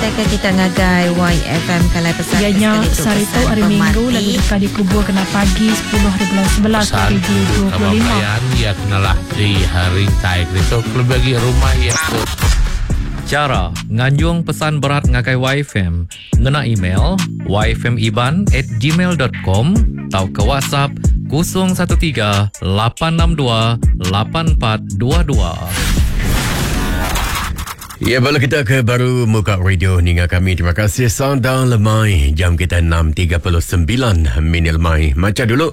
Ngenatai ke kita ngagai YFM kalai pesan Iya ke nya sekali tu sehari tu pesan hari Minggu pemati. lalu deka dikubur kena pagi 10 hari bulan 11 Pesan untuk kaban 2025. belayan ya kenalah di rintai itu lebih lagi rumah ya tu. Chara nganjung pesan berat ngagai YFM ngena email yfmiban@gmail.com tauka WhatsApp 013 862 8422. Ya, bala kita ke baru muka radio ninga kami. Terima kasih Sandang Lemai. Jam kita 6.39 minit lemai. Macam dulu,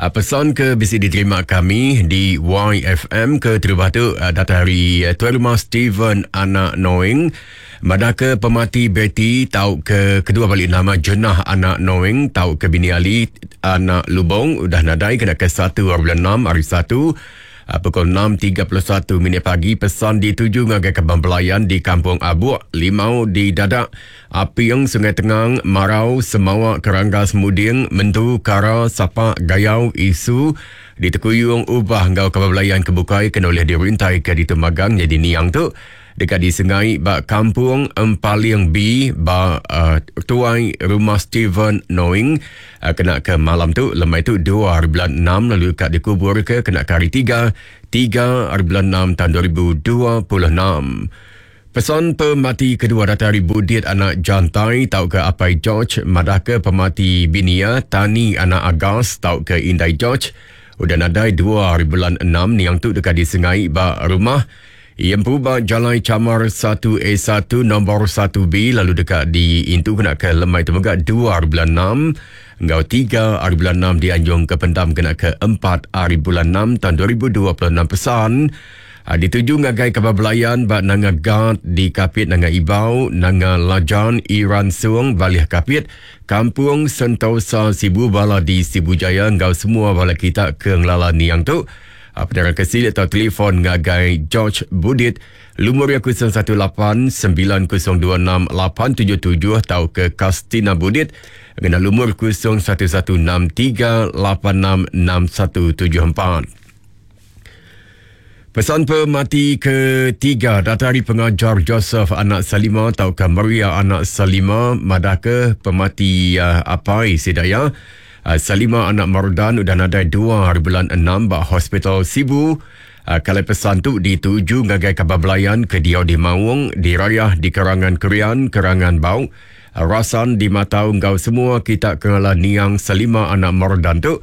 pesan ke bisa diterima kami di YFM ke terubah tu datang hari Tuan Rumah Steven Anak Noing. Madah ke pemati Betty tau ke kedua balik nama Jenah Anak Noing tau ke bini Ali Anak Lubong udah nadai kena ke 1 hari bulan 6 hari 1 pukul 6.31 minit pagi pesan dituju ngagai Kebang Belayan di Kampung Abuk, Limau di Dadak, Apiang Sungai Tengang, Marau, Semawa, Keranggas, Muding, Mentu, Kara, Sapak, Gayau, Isu, di Tekuyung, Ubah ngau Kebang Belayan Kebukai kena oleh dirintai ke di Temagang jadi niang tu dekat di Sungai ba Kampung Empaling B ba Tuai Rumah Steven Noing kena ke malam tu lemai tu 2 hari bulan 6 lalu kat dikubur ke kena ke hari 3 3 hari bulan 6 tahun 2026. Pesan pemati kedua datang dari Budit anak Jantai tau ke Apai George madah ke pemati binia Tani anak Agas tau ke Indai George udah nadai 2 hari bulan 6 niang tu dekat di Sungai ba rumah Iempu ba Jalai Camar 1A1 nombor 1B lalu dekat di Intu kena ke lemai tu mega 2 hari bulan 6 ngau 3 hari bulan 6 dianjung ke pendam kena ke 4 hari bulan 6 tahun 2026 pesan dituju ngagai kabar belayan ba Nanga Gad di Kapit Nanga Ibau, Nanga Lajan, Iran Suang, Balih Kapit, Kampung Sentosa Sibu Bala di Sibu Jaya ngau semua bala kita ke ngelala niang tu. Penerang kesilik atau telefon ngagai George Budit lumur ya 018 9026 877 atau ke Kastina Budit dengan lumur 0116 386 6174. Pesan pemati ketiga datang dari pengajar Joseph anak Salima atau ke Maria anak Salima madah ke pemati apai sidaya Salima anak Mardan udah nadai 2 hari bulan 6 ba Hospital Sibu. Kalau pesan tu dituju ngagai kabar belayan ke diau di Maung, di Rayah, di Kerangan Kerian, Kerangan Bau, Rasan di Matau ngau semua kita kenala niang Salima anak Mardan tu.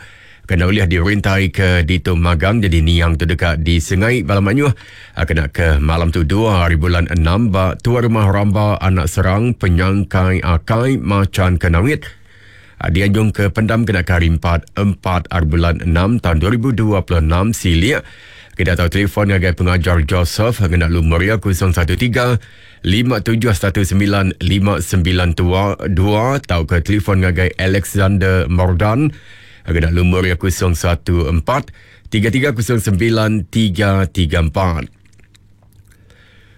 Kena boleh dirintai ke di Magang jadi niang tu dekat di Sungai Balamanyuh. Kena ke malam tu 2 hari bulan 6 ba Tuan Rumah Ramba anak Serang Penyangkai Akai Macan Kenawit. Dianjung ke pendam kena ke hari 4 4 hari bulan 6 tahun 2026 silik. Kita tahu telefon ngagai pengajar Joseph kena lumur ya 013 5719 592 atau ke telefon ngagai Alexander Mordan kena lumur ya 014 3309 334.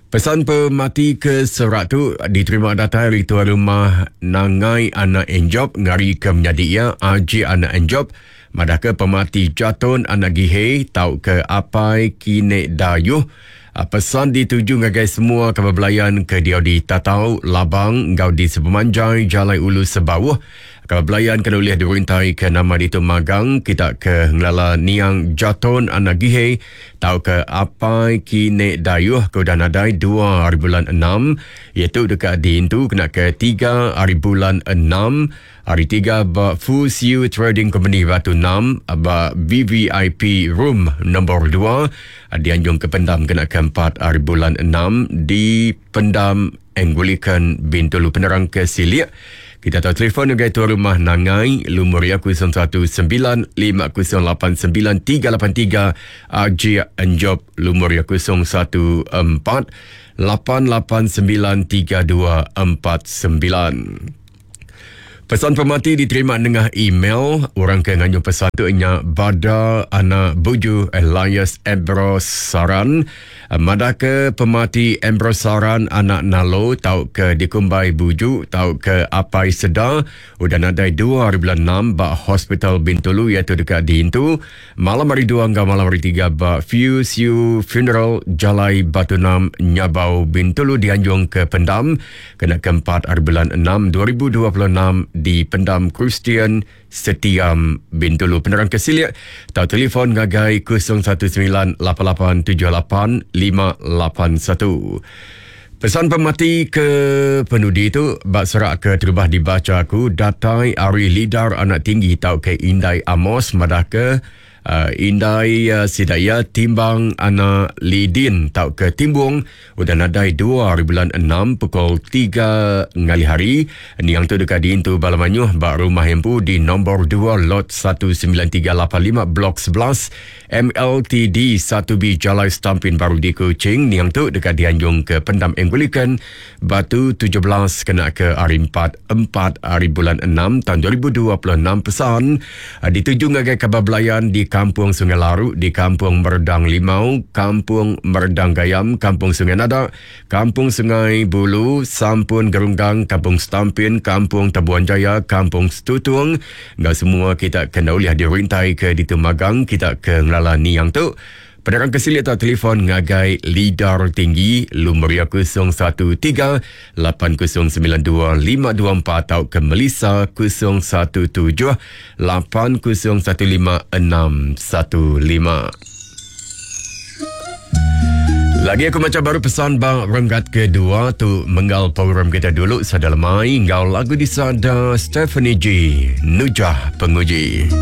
Pesan pemati ke serat tu diterima datang dari tuan rumah Nangai anak Enjob ngari ke menyadi ia Aji anak Enjob madah ke pemati Jaton anak Gihe tau ke Apai Kine Dayuh. Pesan dituju ngagai semua kabar belayan ke dia di Tatau, Labang, ngau di Sepemanjai, Jalai Ulu Sebawuh. Kabar belayan kena boleh dirintai ke nama di Magang, kita ke ngelala Niang Jaton anak Gihe, tau ke Apai Kine Dayuh ke udah nadai 2 hari bulan 6, iaitu dekat di Intu kena ke 3 hari bulan 6, hari 3 ba Fu Siu Trading Company Batu 6, ba VVIP Room nombor 2, dianjung ke pendam kena ke 4 hari bulan 6 di Pendam Anglican Bintulu. Penerang ke Silik. Kita tahu telefon ngagai tuan rumah Nangai lumur ya 019 5089 383 Aji Enjob lumur ya 014 889 3249. Pesan pemati diterima nengah email. Orang ke nganjung pesan tu nya Bada Anak Buju Elias Ambrose Saran. Madah ke pemati Ambrose Saran anak Nalo tau ke dikumbai Buju tau ke Apai Seda udah nadai 2 hari bulan 6 ba Hospital Bintulu iaitu deka diintu malam hari 2 enggau malam hari 3 ba Few Siu Funeral Jalai Batu 6 Nyabau Bintulu dianjung ke Pendam kena keempat hari bulan 6 2026 di Pendam Kristian Setiam Bintulu. Penerang ke silik tau telefon ngagai 019 8878 581. Pesan pemati ke penudi tu bak serak ke terubah dibaca aku datai ari lidar anak tinggi tau ke Indai Amos madah ke indai sida iya timbang anak Lidin tau ke Timbung udah nadai 2 hari bulan 6 pukul 3 ngalih hari. Niang tu deka diintu bala mayuh ba rumah empu di nombor 2 lot 19385 blok 11 MLTD 1B Jalai Stampin Baru di Kuching. Niang tu deka dianjung ke Pendam Anglican Batu 17 kena ke hari 4 4 hari bulan 6 tahun 2026. Pesan dituju ngagai kabar belayan di Kampung Sungai Laru, di Kampung Merdang Limau, Kampung Merdang Gayam, Kampung Sungai Nada, Kampung Sungai Bulu, Sampun Gerunggang, Kampung Stampin, Kampung Tabuan Jaya, Kampung Setutung. Enggau semua kita kena ulih dirintai ke ditu magang kita ke ngelala niang tu. Penerang ke silik atau telefon ngagai Lidar Tinggi lumur iya 013 8092 524 atau ke Melissa 017 8015 615. Lagi aku macam baru pesan bang renggat kedua tu menggal program kita dulu sada lemai ngau lagu disada Stephanie G Nujah Penguji.